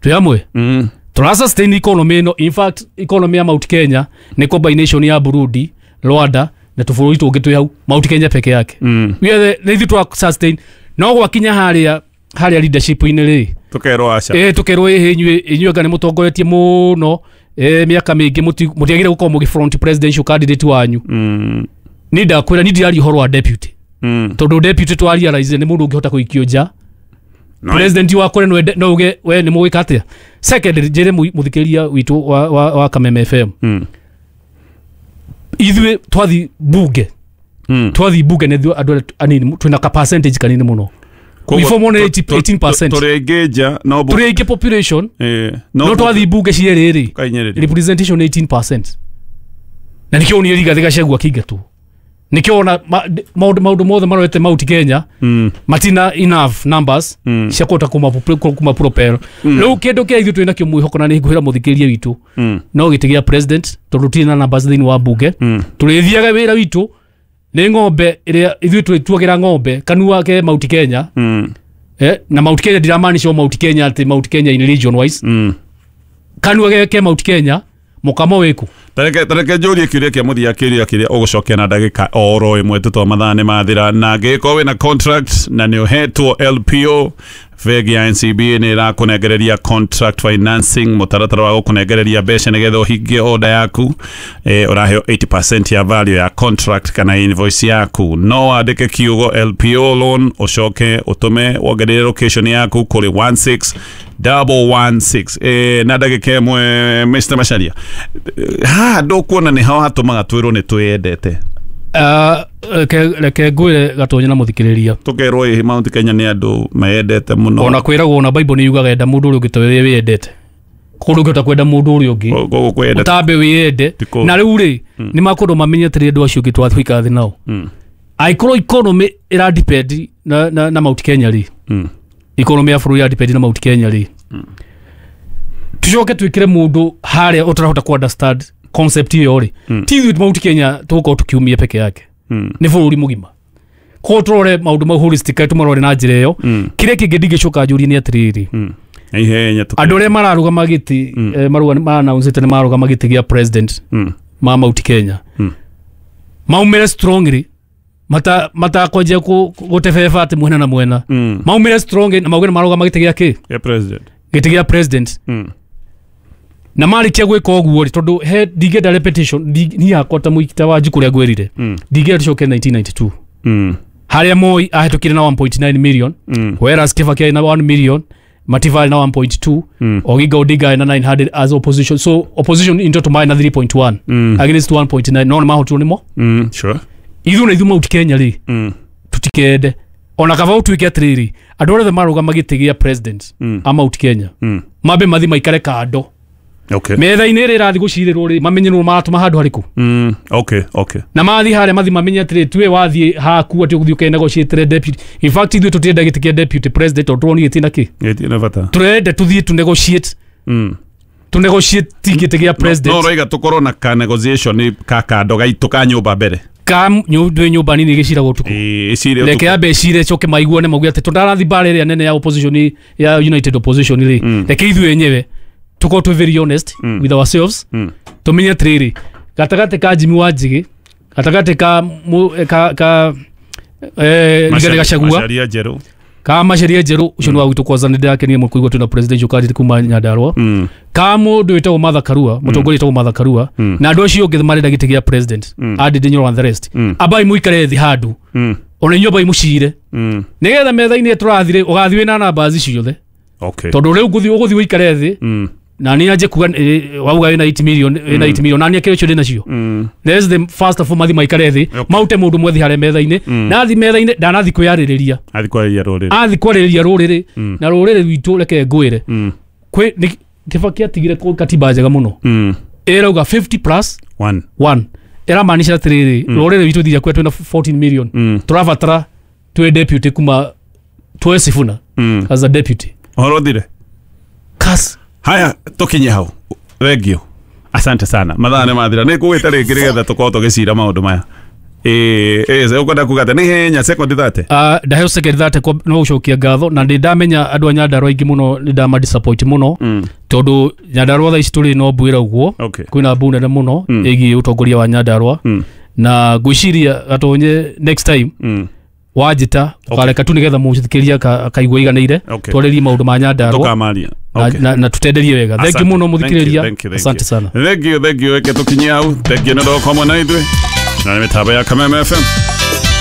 Twĩ hamwe. Tũra sustain economy ĩno. In fact, economy ya Mount Kenya nĩ combination ya Burundi, Rwanda na tũbũrũri tũngĩ twĩ hau, Mount Kenya peke yake. We are the, nĩ ithuĩ twa sustain, no gwakinya harĩa leadership-inĩ rĩ, Tũkerwo aca. Ĩ, tũkerwo ĩhĩ, inyuĩ anga nĩ mũtongoretie mũno mĩaka mĩingĩ, mũtiagĩrĩire gũkorwo mũgĩ front presidential candidate wanyu. Ni ndakwĩra, ni ndiraria ũhoro wa deputy, tondũ deputy twa realize nĩ mũndũ ũngĩhota kũikio nja. No. President wakwa no ende, no uge we nĩ mũgwĩka atĩa. Second, njĩre mũthikĩrĩria witũ wa Kameme FM, ithuĩ twathi bunge, twathi bunge nĩ ithuĩ andũ arĩa anini twĩna ka percentage kanini mũno. We form only 18%. Tũrĩ aingĩ nja no Tũrĩ aingĩ population, no no twathi bunge cierĩ rĩ, kainyĩrĩria. Representation 18%, na nikĩo onire Rigathĩ Gachagua akĩingatwo, nikĩo ona maũndũ mothe marorete Mount Kenya, matina enough numbers cia kũhota kuma propel. Rĩu kĩndũ kĩrĩa ithuĩ twĩ nakĩo mwĩhoko, na nĩ ngwĩra mũthikĩrĩria witũ, no gĩtĩ gĩa president, tondũ tũtirĩ na numbers thĩinĩ wa bunge. Tũrĩthiaga wĩra witũ nĩ ng'ombe ĩrĩa ithuĩ twĩtuagĩra ng'ombe kanua ke Mount Kenya. Na Mount Kenya ndiramaanisha o Mount Kenya atĩ Mount Kenya in region wise. Kanua ke Mount Kenya mũkamo wĩkũ? Tareke njũrie kĩũria kĩa mũthia, kĩũria kĩrĩa ũgũcokia na ndagĩka oro ĩmwe tũtwa mathaa nĩ mathira. Na angĩgĩkorwo wĩna contract na nĩ ũhetwo LPO, bengi ya NCBA nĩ ĩrakũnengereria contract financing, mũtaratara wa gũkũnengereria mbeca nĩgetha ũhingie order yaku. Ũraheo 80% ya value ya contract kana invoice yaku. No wandĩke kiugo LPO loan, ũcoke ũtũme wongerere location yaku kũrĩ 16116. Na ndagĩka ĩmwe, Mr. Macharia, haha ndũkuona nĩ ho hatũmaga twĩrwo nĩ twĩyendete? Ah, reke ngwĩre Gatonye na mũthikĩrĩria. Tũkerwo ĩ Mount Kenya nĩ andũ meyendete mũno. Ona kwĩragwo, ona Bible nĩ yugaga enda mũndũ ũrĩa ũngĩ ta ũrĩa wĩyendete. Kũndũ ũngĩhota kwenda mũndũ ũrĩa ũngĩ Koguo kwĩyenda ũtambe wĩyende. Ti kũũru. Na rĩu rĩ, nĩ makũndũ mamenye atĩrĩ, andũ acio ũngĩ twatwĩka thĩ nao, angĩkorwo economy ĩra depend na Mount Kenya rĩ, economy ya bũrũri ĩra depend na Mount Kenya rĩ, tucoke twĩkĩre mũndũ harĩa ũtarahota ku understand concept ĩyo rĩ, ti ithuĩ Mount Kenya tũgũkorwo tũkiumia peke yake, nĩ bũrũri mũgima. Koguo tũrore maũndũ mau holistically, tũmarore na njĩra ĩyo. Kĩrĩa kĩngĩ ndingĩcoka njũrie nĩ atĩrĩrĩ, Na ihenya andũ arĩa mararũgama gĩtĩ, mara-announce nĩ mararũgama gĩtĩ gĩa president ma Mount Kenya, maumĩre strongly, matakwanjia gũtebeba atĩ mwena na mwena, maumĩre strongly na mauge nĩ marũgama gĩtĩ gĩa kĩ? Ya president. Gĩtĩ gĩa president. Na marĩkia gwĩka ũguo rĩ, tondũ he ndingĩenda repetition, niĩ hakwa ta mũikita wa njukũ ũrĩa ngwĩrire, ndingĩenda tũcoke 1992, harĩa Moi ahĩtũkire na 1.9 million, whereas Kibaki arĩ na 1 million, Matiba arĩ na 1.2, Oginga Odinga arĩ na 900 as opposition. So opposition in total marĩ na 3.1 against 1.9, no nĩ mahotirwo nĩmo. Ithuĩ na ithuĩ Mount Kenya rĩ, tutikende ona kaba ũtuĩke atĩrĩrĩ, andũ arĩa othe marũgama gĩtĩ gĩa president a Mount Kenya mambe mathi maikare kando metha-inĩ ĩrĩa ĩrathiĩ gũcirĩrwo rĩ, mamenye nũ maratũma handũ harĩkũ. Na mathi harĩa mathi mamenye atĩrĩ, tuwe wathiĩ haku atĩ ũgũthiĩ ũkenegotiatĩre deputy. In fact, ithuĩ tũtirenda gĩtĩ kĩa deputy president, tondũ tũronire gĩtĩ na kĩ. Gĩtirĩ bata. Tũrenda tũthiĩ tu negotiate, tu negotiate gĩtĩ gĩa president. No ũroiga tũkorwo na ka negotiation ka kando gaitũ ka nyũmba mbere. Ka ndwĩ nyũmba nini ĩgĩciragwo ũtukũ. Ĩĩ, ĩcire Reke ũtukũ. ambe ecire, coke maiguane, mauge atĩ tũtarathi mbara ĩrĩa nene ya opposition, ya united opposition rĩ, reke ithuĩ enyewe tukorwo twĩ very honest with ourselves, tũmenye atĩrĩrĩ, gatagatĩ ka Jimmy Wanjigi, gatagatĩ ka Rigathĩ Gachagua, Macharia njerũ. Ka Macharia njerũ ũcio nĩ wa gwitũ kwanza, nĩ ndĩrakenire mũno kũigua twĩna presidential candidate kuma Nyandarua, ka mũndũ wĩtagwo Martha Karua, mũtongoria wĩtagwo Martha Karua, na andũ acio ũngĩ marenda gĩtĩ gĩa president, Andy Nyoro and the rest, ambai mũikare thĩ handũ, ona inyuĩ ambai mũcire, nĩgetha metha-inĩ tũrathire ũgathiĩ wĩna namba ciothe. Tondũ rĩu ũgũthiĩ ũikare thĩ, na niĩ anjie kuga wauga wĩna 8 million, wĩna 8 million, na niĩ kĩrĩa ũcio ndĩ nacio. There's the first of all mathi maikare thĩ, maute mũndũ mwethi harĩa metha-inĩ, na athi metha-inĩ ndanathi kwĩyarĩrĩria. Athi kwarĩria rũrĩrĩ. Athi kwarĩrĩria rũrĩrĩ, na rũrĩrĩ rwitũ, reke ngwĩre, kwĩ nĩ Kibaki atigire katiba njega mũno, ĩrauga 50 plus One. 1. Ĩramaanisha atĩrĩrĩ, rũrĩrĩ rwitũ thiria kwĩ twĩna 14 million, tũrabatara twĩ deputy kuma tuoe Sifuna as a deputy. Ũhoro ũthire. Kas. Haya, tũkinye hau. Thank you, asante sana, mathaa nĩ mathira, nĩ ngũgwĩta rĩngĩ nĩgetha tũkorwo tũgĩcira maũndũ maya. Ũkwenda kuga atĩa? Nĩ ihenya sekondi 30. Ndaheo second 30 no gũcokia ngatho, na nĩ ndamenya andũ a Nyandarua aingĩ mũno nĩ ndama disappoint mũno, tondũ Nyandarua thaa ici tũrĩ no mbuĩra ũguo. Kwĩna mbu nene mũno ĩgiĩ ũtongoria wa Nyandarua, na ngwĩciria Gatonye next time wanjĩta ũkareka tu nĩgetha mũthikĩrĩria akaigua iganĩire, twarĩrie maũndũ ma Nyandarua Tũkamaria. na tutenderie wega. Thank you mũno mũthikĩrĩria, asante sana. Thank you, thank you. Reke tũkinyie hau. Thank you nĩ ũndũ wa gũkorwo hamwe na ithuĩ na nĩ mĩtambo ya Kameme FM.